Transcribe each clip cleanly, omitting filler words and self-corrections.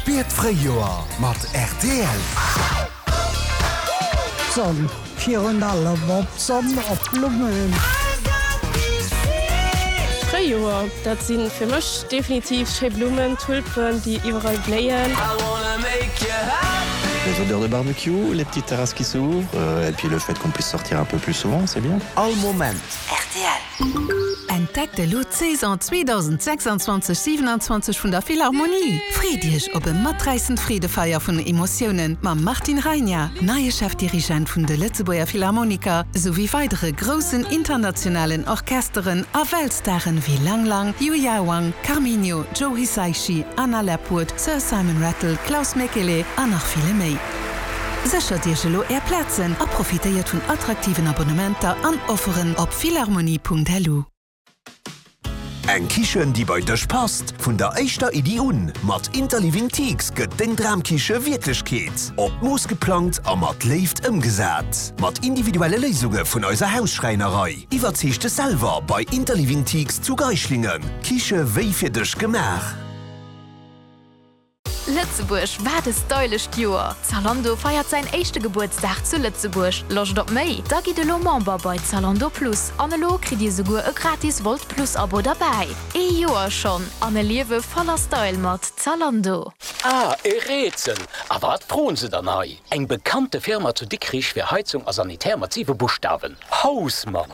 Spier d'Fréijoer mat rtl. D'Sonn, virun allem op d'Sonn, op d'Blummen. D'Fréijoer, dat si fir mech definitiv schéi Blummen, Tulpen, déi iwwerall bléien. Les odeurs de barbecue, les petites terrasses qui s'ouvrent et puis le fait qu'on puisse sortir un peu plus souvent, c'est bien. All Moment. Rtl. Entdeckt elo d'Saison 2026 27 vun der Philharmonie! Freet Iech op e maträissend Freedefeier vun Emotiounen mam Martin Rajna, neie Chefdirigent vun de Lëtzebuerger Philharmoniker, souwéi weidere groussen internationalen Orchesteren a Weltstaren wéi Lang Lang, Yuya Wang, Carminho, Joe Hisaishi, Anna Lapwood, Sir Simon Rattle, Klaus Mäkelä an nach ville méi. Séchert Iech elo Är Plazen a profitéiert vun attraktiven Abonnementer an Offeren op philharmonie.lu. Eng Kichen déi bei dech passt, vun der éischter Iddi un. Mat Interliving Teaks gëtt deng Dramkiche Wierklechkeet. Op d'Mooss geplangt a mat Léift ëmgesat. Mat individuelle Léisunge vun eiser Hausschräinerei. Iwwerzeeg dech selwer bei Interliving Teaks zu Geischlingen. Kiche wéi fir dech gemaach. Lëtzebuerg, wat e stylescht Joer! Zalando feiert säin éischte Gebuertsdag zu Lëtzebuerg. Loscht op méi? Da gitt elo Member bei Zalando Plus an elo kritt dir souguer e gratis Wolt Plus Abo derbäi. Ee Joer schonn an e Liewe voller Style mat Zalando! Ah, e Rätsel! A wat froen se dann hei? Eng bekannte Firma zu Dikrich fir Heizung a Sanitär mat 7 Buschtawen, Hausmann!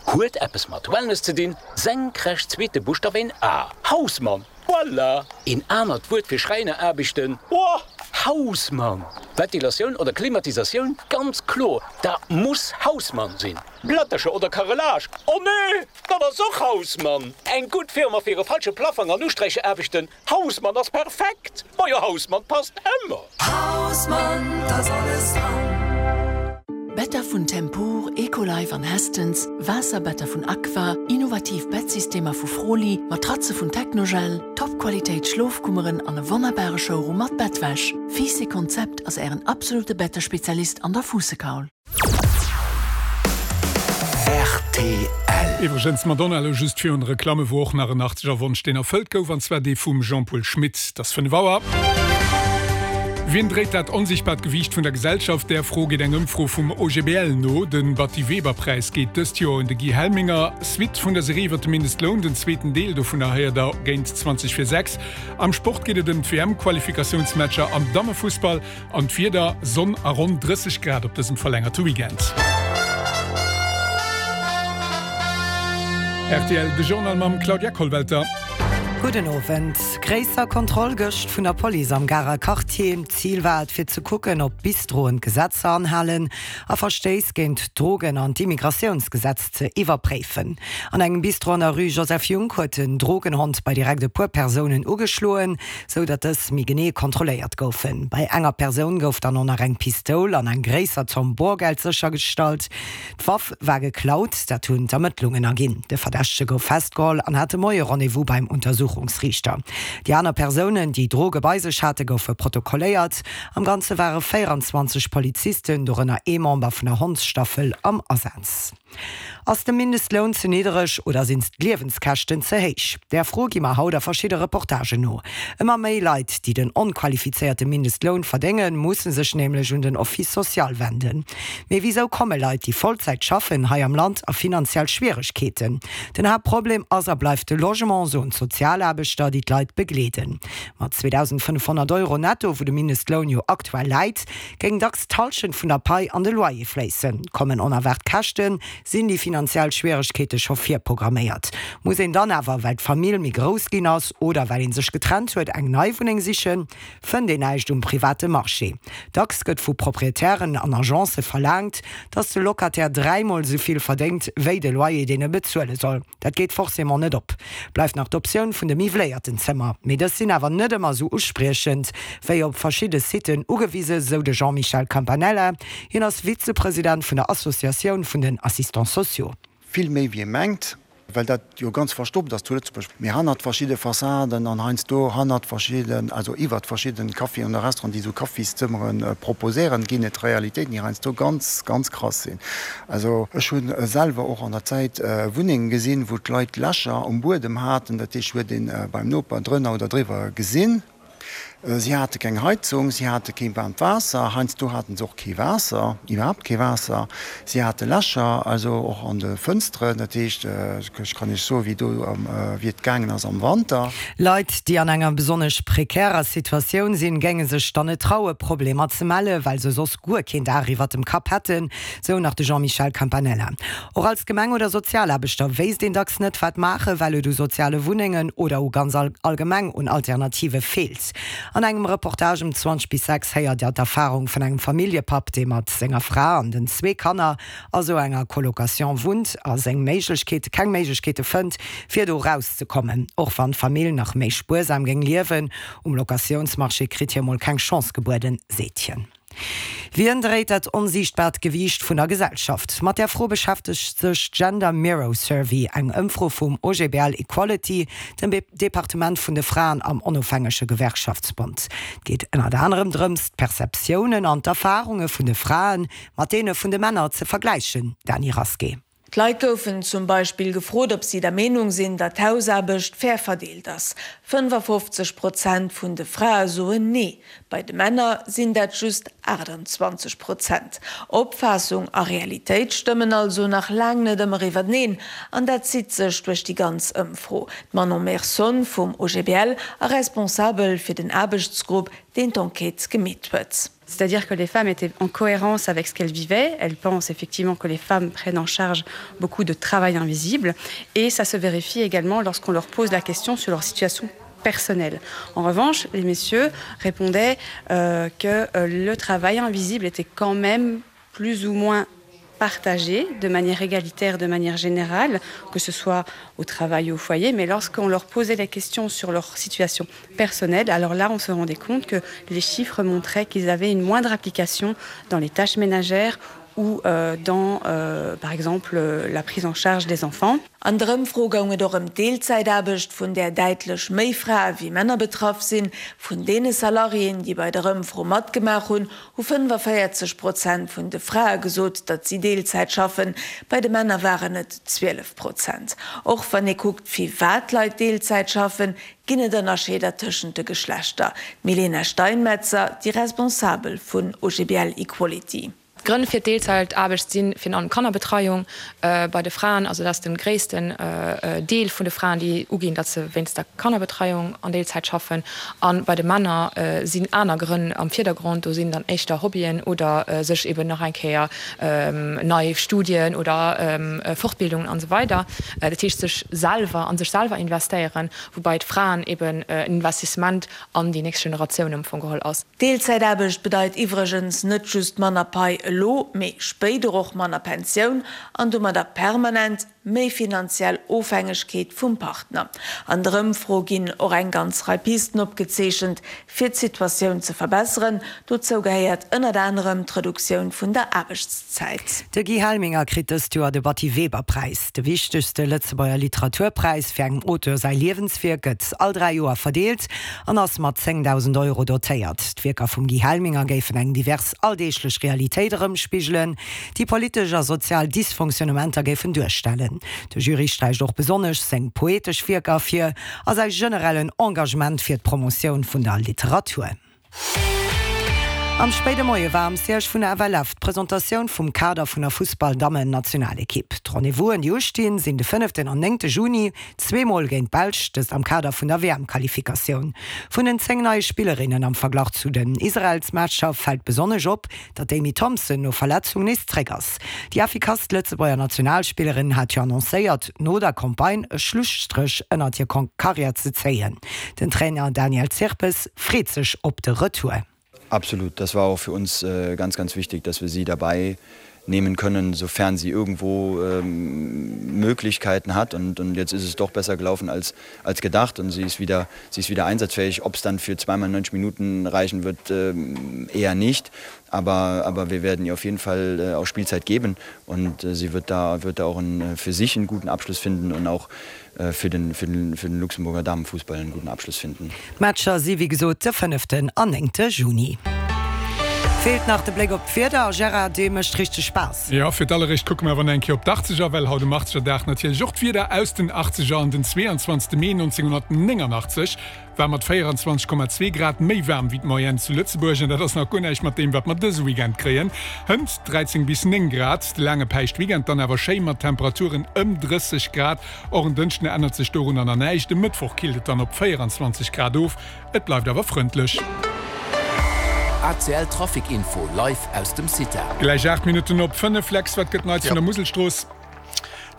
Huet eppes mat Wellness ze dinn, senkrecht zweete Buschtaf een A, Hausmann! Voilà! Een anert Wuert fir Schräineraarbechten, oh, Hausmann! Ventilatioun oder Klimatisatioun, ganz kloer, dat muss Hausmann sinn! Plättercher oder Carrelage, oh nee, dat ass och Hausmann! Eng gutt Firma fir e falsche Plaffang an Usträicheraarbechten, Hausmann ass perfekt! Majo, Hausmann passt ëmmer! Hausmann, da ass alles dran! Better vun Tempur, Ecolife an Hästens, Waasserbetter vun Aqua, innovativ Bettsystemer vu Froli, Matratze vun Technogel, Top-Qualitéit Schlofkummeren an e wonnerbare Showroom mat Bettwäsch. Fiiss Konzept ass Ären absolute Bettespezialist an der Fuussekaul. Rtl. Iwwregens, d'Madonna elo just virun de Reklamme wor och nach en Achtzeger Wonsch deen erfëllt gouf, an zwar dee vum Jean-Paul Schmit. Et ass 5 Auer. Wien dréit dat onsichtbart Gewiicht vun der Gesellschaft? Där Fro geet eng Ëmfro vum OGBL no. De Batty-Weber-Präis geet dëst Joer un de Guy Helminger. Suite vun der Serie iwwer de Mindestloun, den zweeten Deel dovunner héiert der géint 20 vir 6. Am Sport geet et ëm d'WM-Qualifikatiounsmatcher am Dammefussball an d'Wieder, Sonn a ronn 30 Grad op dësem verlängerte Weekend. Rtl, De Journal mam Claudia Kollwelter. Gudden Owend. Gréisser Kontroll gëscht vun der Police am Garer Quartier. Zil war et fir ze kucken, ob d'Bistroen d'Gesetzer anhalen a Verstéiss géint d'Drogen an d'Immigratiounsgesetz ze iwwerpréifen. An engem Bistro an der Rue Joseph Junck huet en Drogenhond bei direkt e puer Persounen ugeschloen, sou datt dës méi genee kontrolléiert goufen. Bei enger Persoun gouf dann och nach eng Pistoul an eng gréisser Zomm Borgeld séchergestallt. D'Waff war geklaut, dat hunn d'Ermëttlungen erginn. De Verdächtege gouf festgeholl an hat de Moie Rendez-vous beim Untersuchungsriichter. Déi aner Persounen, déi Droge bei sech hate goufe protokolléiert. Am Ganze ware 24 Polizisten, dorënner ee Member vun der Hondsstaffel, am Asaz. Ass de Mindestloun ze niddereg oder sinn d'Liewenskäschten ze héich? Där Fro gi mer haut a verschidde Reportagen no. Ëmmer méi Leit, déi den onqualifizéierte Mindestloun verdéngen, musse sech nämlech un den Office social wenden. Mee wisou komme Leit, déi Vollzäit schaffen, hei am Land a finanziell Schwieregkeeten? Den Haaptproblem ass a bleift de Logement, soen d'Sozialaarbechter, déi d'Leit begleeden. Mat 2.500 Euro netto, wou de Mindestloun jo aktuell läit, géing dacks d'Hallschent vun der Pai an de Loyer fléissen. Kommen onerwaart Käschten, sinn déi finanziell Schwieregkeete scho virprogramméiert. Muss een dann awer, well d'Famill méi grouss ginn ass oder well ee sech getrennt huet, eng nei Wunneng sichen? Fënnt een näischt um private Marché. Dacks gëtt vu Proprietären an Agencë verlaangt, datt de Locataire dräimol esou vill verdéngt, wéi de Loyer, deen e bezuele soll. Dat geet forcément net op. Bleift nach d'Optioun vun de miwwléierten Zëmmer. Mee dës sinn awer net ëmmer esou uspriechend, wéi op verschidde Siten ugewise, sou de Jean-Michel Campanella. Hien ass Vizepresident vun der Associatioun vun den Assistants sociaux. Vill méi wéi ee mengt, well dat jo ganz verstoppt ass zu Lëtzebuerg, mee hannert verschidde Fassaden an heiansdo hannert verschidden, also iwwert verschidden Caféen oder Restauranten, déi esou Kaffiszëmmere proposéieren, ginn et Realitéiten, déi heiansdo ganz, ganz krass sinn. Also ech hu selwer och an der Zäit Wunnenge gesinn, wou d'Leit Lächer um Buedem haten, dat heescht, huet ee beim Noper drënner oder driwwer gesinn. Si hate keng Heizung, si hate kee waarmt Waasser, heiansdo haten se och kee Waasser, iwwerhaapt kee Waasser. Si hate Lächer, also och an de Fënsteren. Dat heescht, ech kann Iech soen, wéi do, wéi et gaangen ass am Wanter. Leit, déi an enger besonnesch prekärer Situatioun sinn, géinge sech dann net traue Problemer ze mellen, well se soss guer keen Daach iwwert dem Kapp hätten, sou nach de Jean-Michel Campanella. Och als Gemeng oder Sozialaarbechter wéisst een dacks net, wat maachen, well et u soziale Wunnengen oder u ganz allgemeng un Alternative feelt. An engem Reportage um 20 bis 6 héiert Dir d'Erfarung vun engem Familljepapp, dee mat senger Fra an den zwee Kanner a sou enger Colocation wunnt a seng Méiglechkeete keng Méiglechkeete fënnt, fir do rauszekommen. Och wann d'Famill nach méi spuersam géing liewen, um Locatiounsmarché kritt hie mol keng Chance gebueden, seet hien. Wien dréit dat onsiichtbaart Gewiicht vun der Gesellschaft? Mat där Fro beschäftegt sech d'Gender Mirror Survey, eng Ëmfro vum OGBL Equality, dem Departement vun de Fraen am onofhängege Gewerkschaftsbond. Et geet ënnert anerem drëms, d'Perceptiounen an d'Erfarunge vun de Frae mat deene vun de Männer ze vergläichen. Dany Rasqué. D'Leit goufen zum Beispill gefrot, ob si der Meenung sinn, datt d'Hausaarbecht fair verdeelt ass. 55 Prozent vun de Frae soen Nee, bei de Männer sinn dat just 28 Prozent. Opfaassung a Realitéit stëmmen also nach laang net ëmmer iwwerteneen, an dat zitt sech duerch déi ganz Ëmfro. D'Manon Merson vum OGBL a Responsabel fir den Aarbechtsgrupp, deen d'Enquête gemeet huet. C'est-à-dire que les femmes étaient en cohérence avec ce qu'elles vivaient. Elles pensent effectivement que les femmes prennent en charge beaucoup de travail invisible et ça se vérifie également lorsqu'on leur pose la question sur leur situation personnelle. En revanche, les messieurs répondaient euh, que euh, le travail invisible était quand même plus ou moins partagé de manière égalitaire, de manière générale, que ce soit au travail ou au foyer, mais lorsqu'on leur posait la question sur leur situation personnelle, alors là on se rendait compte que les chiffres montraient qu'ils avaient une moindre application dans les tâches ménagères ou euh, dans euh, par exemple euh, la prise en charge des enfants. An der Ëmfro goung et och ëm d'Deelzäitaarbecht, vun där däitlech méi Frae wéi Männer betraff sinn. Vun deene Salariéen, déi bei der Ëmfro matgemaach hunn, hu 45 Prozent vun de Frae gesot, datt si Deelzäit schaffen, bei de Männer waren et 12 Prozent. Och wann ee kuckt, firwat d'Leit Deelzäit schaffen, ginn et Ënnerscheeder tëschent de Geschlechter. D'Milena Steinmetzer, déi Responsabel vun OGBL Equality. D'Grënn fir d'Deelzäitaarbecht si virun allem Kannerbetreiung bei de Fraen. Also dat ass de gréissten Deel vun de Fraen, déi uginn, datt se wéinst der Kannerbetreiung an Deelzäit schaffen. A bei de Männer sinn aner Grënn am Virdergrond. Do sinn dann éischter Hobbyen oder sech eben nach eng Kéier nei Studien oder Fortbildungen an esou weider. Dat heescht sech selwer, a sech selwer investéieren, woubai d'Fraen eben en Investissement an déi nächst Generatioun am Fong geholl ass. Deelzäitaarbecht bedeit iwwregens net just manner Pai elo, mee spéider och manner Pensioun an domadder permanent méi finanziell Ofhängegkeet vum Partner. An der Ëmfro ginn och eng ganz Rei Pisten opgezeechent, fir d'Situatioun ze verbesseren. Dozou gehéiert ënnert anerem d'Reduktioun vun der Aarbechtszäit. De Guy Helminger kritt dëst Joer de Batty Weber Präis. De wichtegste Lëtzebuerger Literaturpräis fir engem Auteur säi Liewenswierk gëtt all 3 Joer verdeelt an ass mat 10.000 Euro dotéiert. D'Wierker vum Guy Helminger géifen eng divers alldeeglech Realitéit erëmspigelen, déi politesch a sozial Dysfonctionnementer géifen duerstellen. De Jury sträicht och besonnesch seng poetesch Wierker ervir a säi generellen Engagement fir d'Promotioun vun der Literatur. Am spéide Moie war am Siège vun der FLF d'Presentatioun vum Kader vun der Fussball-Dammen-Nationalekipp. D'Rendez-vousen, déi ustinn, sinn de fënneften an néngte Juni, zweemol géint d'Belsch, dëst am Kader vun der WM-Qualifikatioun. Vun den 10 neie Spillerinnen am Verglach zu den Israelsmatcher fält besonnesch op, datt d'Amy Thompson no Verletzung nees zréck ass. Déi effikasst Lëtzebuerger Nationalspillerin hat jo annoncéiert, no der Campagne e Schlusstréch ënnert hir Karriär ze zéien. Den Trainer Daniel Zirpes freet sech op de Retour. Absolut, das war auch für uns ganz, ganz wichtig, dass wir sie dabei nehmen können, sofern sie irgendwo Möglichkeiten hat. Und, und jetzt ist es doch besser gelaufen als, als gedacht und sie ist wieder, sie ist wieder einsatzfähig. Ob es dann für zweimal 90 Minuten reichen wird, eher nicht. Aber, aber wir werden ihr auf jeden Fall auch Spielzeit geben und sie wird da, wird da auch einen, für sich einen guten Abschluss finden und auch fir den, fir den, fir den Luxemburger Damenfußball einen guten Abschluss finden. D'Matcher si wéi gesot de fënneften an néngte Juni. Feelt nach de Bléck op d'Wieder. A Gérard, dee mécht richteg Spaass. Jo, fir d'alleréischt kucke mer awer nach eng Kéier op d'Achtzeger, well haut um Achtzegerdag natierlech och d'Wieder aus den Achtzeger an den 22 Mee 1989 war mat 24,2 Grad méi waarm wéi d'Moyenne zu Lëtzebuerg. An dat ass nach guer näischt mat deem, wat mer dëse Weekend kréien. Hënt 13 bis 9 Grad, de laange Päischtweekend dann awer schéi mat Temperaturen ëm 30 Grad. Och en Dënschden ännert sech dorunner nach näischt, e Mëttwoch killt et dann op 24 Grad of, et bleift awer frëndlech. ACL Trafic Info live aus dem CITA. Gläich 8 Minutten op 5, Lex, wat gëtt Neits vun der Muselstrooss?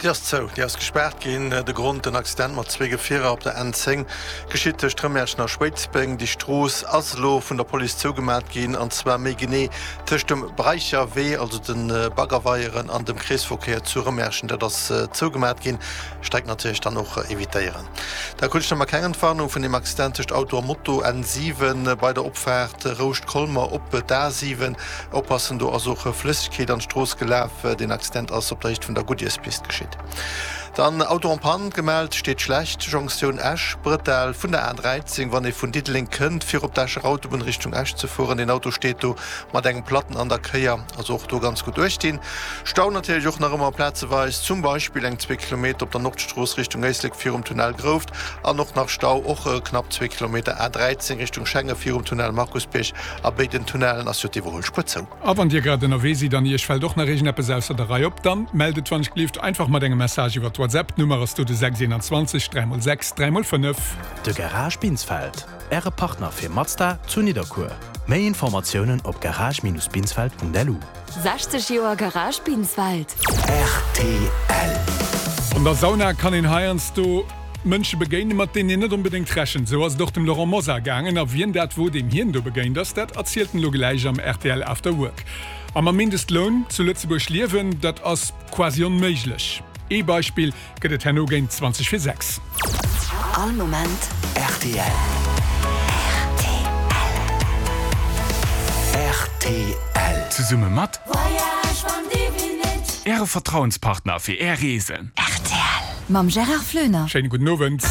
Déi ass zou, déi ass gespaart ginn. De Grond, en Accident mat zwee Gefierer op der N10, geschitt tëscht Rëmerschen a Schwéidsbeng. Déi Strooss ass elo vun der Police zougemat ginn, an zwar méi genee tëscht dem Breicher Wee, also de Baggerweieren, an dem Kreesverkéier zu Rëmerschen. Dat ass zougemat ginn. Streck natierlech dann och evitéieren. Da krut ech nach mol keng Entwarnung vun deem Accident tëscht Auto a Moto, N7 bei der Opfaart Rouscht-Colmer op d'A7. Oppassen, do ass och Flëssegkeet an d'Strooss gelaf. Deen Accident ass op der Héicht vun der Goodyearspist geschitt. Dann Auto en panne gemellt, steet schlecht, Jonktioun Esch, Brëttel vun der A13, wann ee vun Diddeleng kënnt, fir op d'Escher Autobunn Richtung Esch ze fueren. Deen Auto steet do mat engem Platten an der Kéier, also och do ganz gutt uecht dinn. Stau natierlech och nach ëmmer plazeweis, zum Beispill eng zwee Kilometer op der Nordstrooss Richtung Éislek virum Tunnel Grouft an och nach Stau och knapp zwee Kilometer A13 Richtung Schengen virum Tunnel Markusbierg. A béiden Tunnellen ass jo d'Iwwerhuelspuer zou. A wann Dir grad ënnerwee sidd an Iech fält och nach iergendeppes ausser der Rei op, dann mellt et wann ech gelift einfach mat engem Message iwwert WhatsApp. D'Nummer ass do de 6 21 3 x 6 3 x 5. De Garage Binsfeld, Äre Partner fir Mazda zu Nidderkuer. Méi Informatiounen op garage-binsfeld.lu. 60 Joer Garage Binsfeld. Rtl. An der Sauna kann een heiansdo Mënsche begéinen, mat deenen een net onbedéngt rechent. Esou ass et och dem Laurent Mosar gaangen. A wien dat wor, deem hien do begéint ass, dat erzielt en elo gläich am rtl After Work. A mam Mindestloun zu Lëtzebuerg liewen, dat ass quasi onméiglech. Ee Beispill gëtt et herno géint 20 vir 6. All Moment rtl. Rtl. Zesumme mat. Voyage van Divinit. Äre Vertrauenspartner fir Är Reesen. Rtl mam Gérard Floener. Schéine gudden Owend.